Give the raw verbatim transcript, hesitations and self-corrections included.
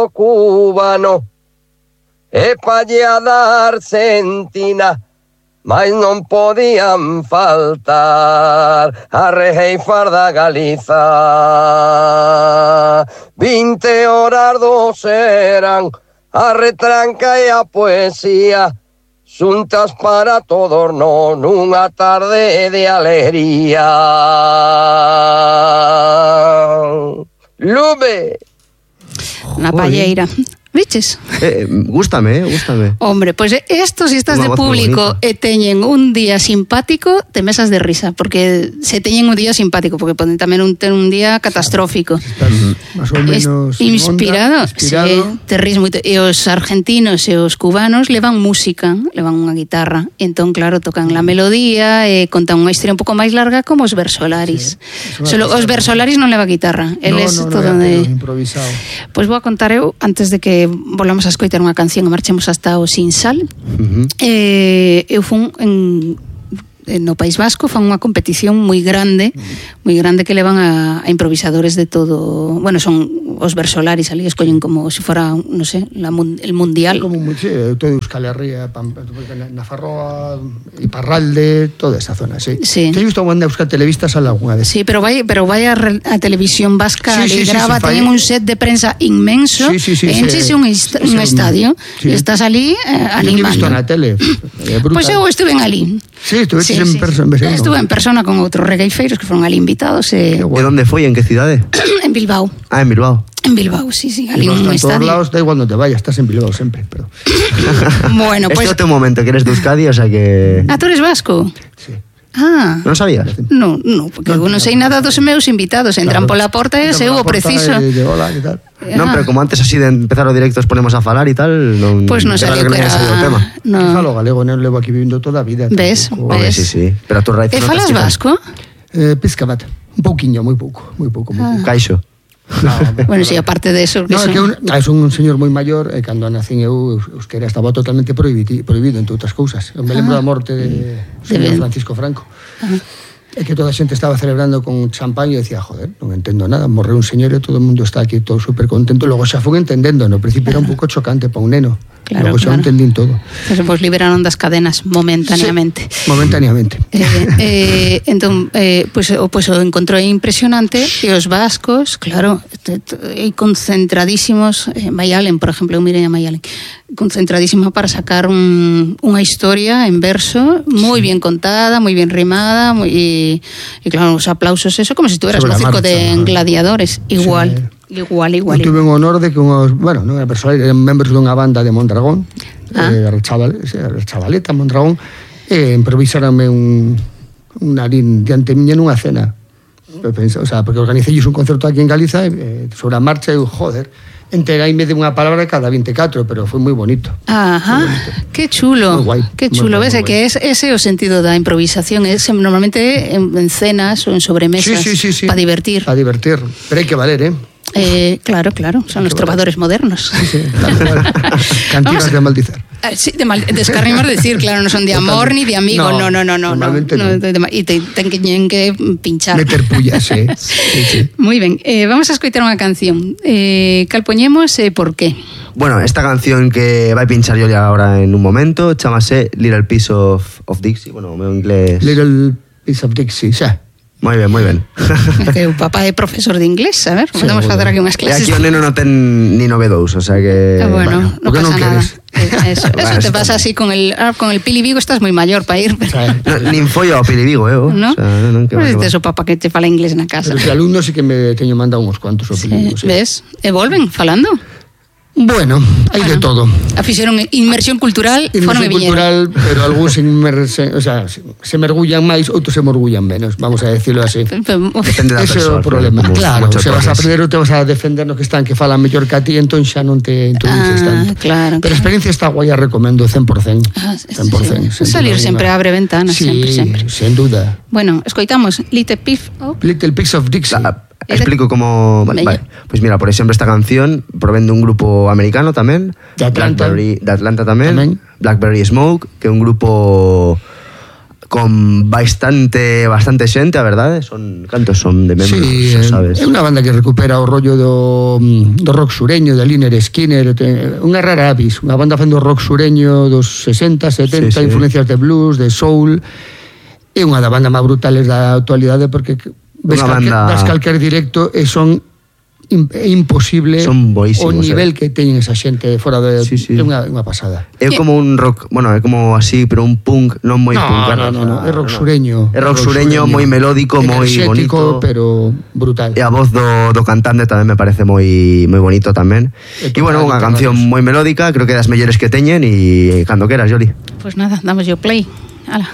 cubano e pa lle a dar sentina, mas non podían faltar a rejeifar da Galiza. Vinte horas dos eran a retranca e a poesía, xuntas para todos non nunha tarde de alegría. Lube. Na palleira. ¿Viches? Eh, gústame, eh, gústame. Hombre, pues esto si estás de público e teñen un día simpático, te mesas de risa, porque se teñen un día simpático, porque poden tamén un, ter un día catastrófico. Estás máis ou menos inspirado, onda, inspirado. Sí, te ris moito. E os argentinos e os cubanos levan música, levan unha guitarra, e entón, claro, tocan la melodía e contan unha historia un pouco máis larga como os Versolaris. Sí, Solo, os Versolaris non leva guitarra, eles no, no, todo no, de improvisado. Pois pues vou a contar eu, antes de que volvamos a escoitar unha canción e marchemos hasta o Sin Sal. Uh-huh. eh, eu fun en no País Vasco fan unha competición moi grande, moi grande que levan a, a improvisadores de todo, bueno, son os Versolaris, ali escollen como se si fora, non sé, la, el mundial. Como sí, todo Euskal Herria, Nafarroa, Iparralde, toda esa zona, sí. Sí. Te he visto cuando Euskal Televista sale alguna vez. Sí, pero vai, pero vai a, a Televisión Vasca, sí, sí, le grava, sí, sí, teñen un set de prensa inmenso, sí, sí, sí, enchese sí, un, est sí, un estadio, sí. E estás ali eh, animando. Yo he visto na tele. Pois pues eu estuve en ali. Sí, estuve sí, en sí. persona. Estuve en persona con outros regueifeiros que foron ali invitados. E... ¿De dónde foi? En que cidade? En Bilbao. Ah, en Bilbao. En Bilbao, sí, sí, ali un estadio. En todos estadio. lados, da igual no te vayas, estás en Bilbao sempre. Pero... bueno, pues... Este é o teu momento, que eres de Euskadi, o sea que... Ah, tú eres vasco? Sí. Ah. Non sabías? No, no, porque no, eu non sei nada dos meus invitados. Entran claro. Pola porta e se o preciso. De, de hola, que tal. Non, pero como antes así de empezar o directo os ponemos a falar e tal, non... Pois non sabía que era... O tema. No. Eu falo galego, non levo aquí vivindo toda a vida. Ves? Tampoco... Ves? Sí, sí. Pero a tu raíz... E falas vasco? Eh, Piscabat. Un pouquiño, moi pouco, moi pouco, moi pouco. Ah. Caixo. No, bueno, si sí, aparte de eso... No, son... é que un, é un señor moi maior, e cando nacín eu, euskera estaba totalmente prohibido, prohibido entre outras cousas. Eu me lembro ah. da morte de señor Francisco Franco. Ah. É que toda a xente estaba celebrando con champán e decía, joder, non entendo nada, morreu un señor e todo o mundo está aquí todo super contento. Logo xa fun entendendo, no principio claro. Era un pouco chocante para un neno. Claro, logo xa claro. Entendín todo. Pues, pues liberaron das cadenas momentaneamente. Sí, momentaneamente. Eh, eh, entón, eh, pues, pues o encontrou impresionante e os vascos, claro, e concentradísimos, eh, Mayalen, por exemplo, eu mirei a Mayalen, concentradísima para sacar un, unha historia en verso moi sí. bien contada, moi bien rimada, moi, e, e claro, os aplausos, eso como se si estuveras no circo de ¿no? gladiadores, igual. Sí. Igual, igual. Eu tuve un honor de que unhos, bueno, non era persoal, eran membros dunha banda de Mondragón, ah. eh, chaval, chavaleta Mondragón, e improvisaronme un unha diante miña nunha cena. O sea, porque organicei un concerto aquí en Galiza e sobre a marcha eu, joder, enteraime de unha palabra cada veinticuatro, pero foi moi bonito. Ajá, bonito. Que chulo. Muy guai, que chulo, ves, que es ese o sentido da improvisación, es normalmente en, en cenas ou en sobremesas, sí, sí, sí, sí. para divertir. Para divertir, pero hai que valer, eh? Eh, claro, claro, son los trovadores modernos. Sí, sí, claro, claro. Cantigas de maldizar. Eh, sí, de, mal, de escarrimos decir, claro, no son de amor ni de amigo, no, no, no, no, no, no, no de, de, y te ten que pinchar. Meter pullas, sí. sí, sí. Muy ben, eh, vamos a escoitar unha canción. Eh, cal poñemos e eh, por qué? Bueno, esta canción que vai pinchar yo ahora en un momento, chamase Little Piece of, of Dixie, bueno, o meu inglés... Little Piece of Dixie, xa. Moi ben, moi ben. Que o papá é profesor de inglés, a ver, podemos sí, facer aquí unhas clases. E aquí o neno non ten ni nove dous, o sea que... Ah, bueno, bueno, non pasa non nada. Eso, eso te pasa así con el ah, con el Pili Vigo, estás moi maior para ir. Pero... No, nin foi ao Pili Vigo, eh? ¿No? O sea, non, non, que pues este é o papá que te fala inglés na casa. Pero os alumnos sí que me teño mandado uns cuantos ao Pili Vigo. Sí. Ves? E volven falando. Bueno, hai bueno, de todo. Fixeron inmersión cultural, inmersión cultural, pero algúns se, o sea, se mergullan máis, outros se mergullan menos, vamos a decirlo así. Depende da Ese é o problema. Claro, se vas a aprender ou te vas a defender no que están que falan mellor que a ti, entón xa non te introduces ah, tanto. Claro, pero a experiencia está guai, a recomendo cen por cen. Ah, cen por cen. Sí. Salir sempre abre ventanas, sí, sempre, sempre. Sen duda. Bueno, escoitamos Little Piece of Little Piece of Dixie. La, explico como... Vale, vale. Pues mira, por exemplo, esta canción provén dun grupo americano tamén, de Atlanta, Blackberry, de Atlanta tamén, tamén, Blackberry Smoke, que é un grupo con bastante bastante xente, a verdade. Son cantos son de membros, sí, sabes? É unha banda que recupera o rollo do, do rock sureño, de Lynyrd Skynyrd, unha rara avis, unha banda facendo rock sureño dos sesenta, setenta, sí, sí. Influencias de blues, de soul. É unha da banda máis brutales da actualidade, porque ves calquer, banda... das calquer directo e son é imposible o nivel eh? que teñen esa xente fora de... Sí, sí. É unha, unha pasada. É como un rock, bueno, é como así, pero un punk non moi no, punk. No, no, no, é rock sureño. É rock, rock sureño, moi melódico, moi bonito. Pero brutal. E a voz do, do cantante tamén me parece moi moi bonito tamén. E bueno, unha canción moi melódica, creo que é das mellores que teñen, e cando queras, Yoli. Pues nada, damos yo play. Ala.